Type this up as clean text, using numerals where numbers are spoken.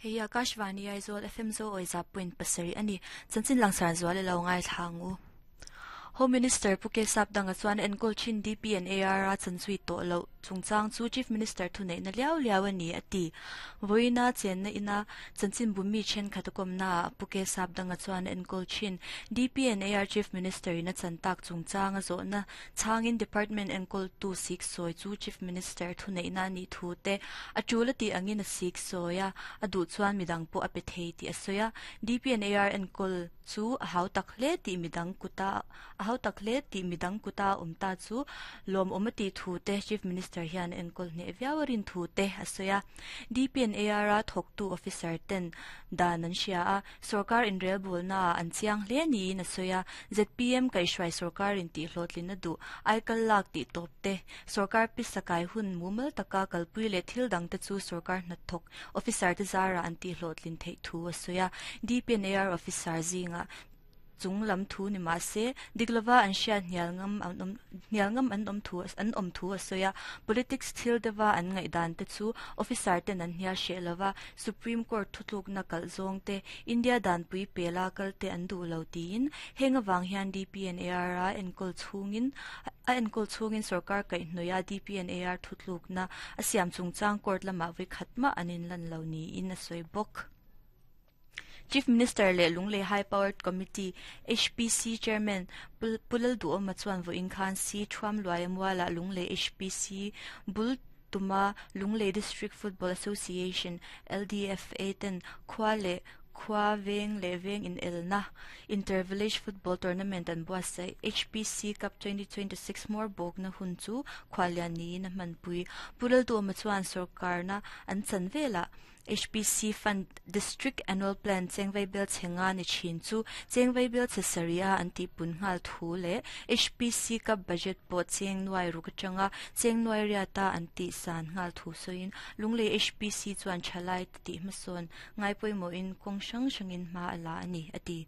Hei Akashvani Aizawl FM zo awi za point pasarih a ni. Chanchin langsar zual i lo ngaithla ang u. Home Minister Pu Kesap Danga chuan enkawl thin DP and AR a chanzui tawh loh chungchang chu Chief Minister thuneihna liau liau a ni a ti. Vawiina chenna ina chanchinbu mi thenkhat a kawmnaah Pu Kesap Danga chuan enkawl thin DP and AR Chief Minister in a chan tak chungchang a zawhna chhangin Department enkawltu sik sawi chu Chief Minister thuneihna a nih thu te a tul a tih angin a sik sawi a, a duh chuan midang pawh a pe thei tih a sawi a. DP and AR enkawl chu a hau tak hle tih midang kuta a hau tak hle tih midang kuta a awm ta chu lawmawm a tih thu te Chief Minister hian a enkawl hneh viau a rin thu te a sawi a. DPNAR a thawktu officer ten dan an hria a, sorkar inrelbawlna ah an chiang hle niin a sawi a. ZPM kaihhruai sorkar in tih hlawhtlin a duh aikal lak tih tawp te, sorkar pisa kai hun mumal taka kalpui leh thil dang te chu sorkar hnathawk Officer te zarah an tihhlawhtlin theih thu a sawi a, DPNAR officer zingah chung lam thu ni mah se, dik lova an hriat hnial ngam an awm hnial ngam an awm thu an awm thu a sawi a, politics thil deuha an ngaihdan te chu officer ten an hnial hreh lova, Supreme Court thutlukna kalh zawng te, India danpui pela kal te an duh lo tiin, heng avang hian DPNAR a enkawl chhungin A enkawl chhungin sorkar kaihhnawih a DPNAR thutlukna a siam chungchang court lamah vawi khat mah an inlan lo niin a sawi bawk. Chief Minister leh Lunglei High Powered Committee, HPC, Chairman Pu Lalduhawma chuan vawiin khan Si Thuamluaia mualah Lunglei HPC bul tuma Lunglei District Football Association, LDFA, ten khua leh Khua veng leh veng inelna Inter-Village Football Tournament an buatsaih. HPC Cup 2026 hmawr bawkna hun chu khuallian niin a hmanpui. Pu Lalduhawma chuan sawrkarna an chan velah HPC Fund District Annual Plan chengvei bel chhe nga ni thin chu chengvei bel chhe sarih a an tihpun nghal thu leh HPC Cup Budget pawh cheng nuai ruk atanga cheng nuai riata an tihsan nghal thu sawiin Lunglei HPC chuan thalai tih hmasawn ngai pawimawhin kawng hrang hrangin hma a la a ni, a ti.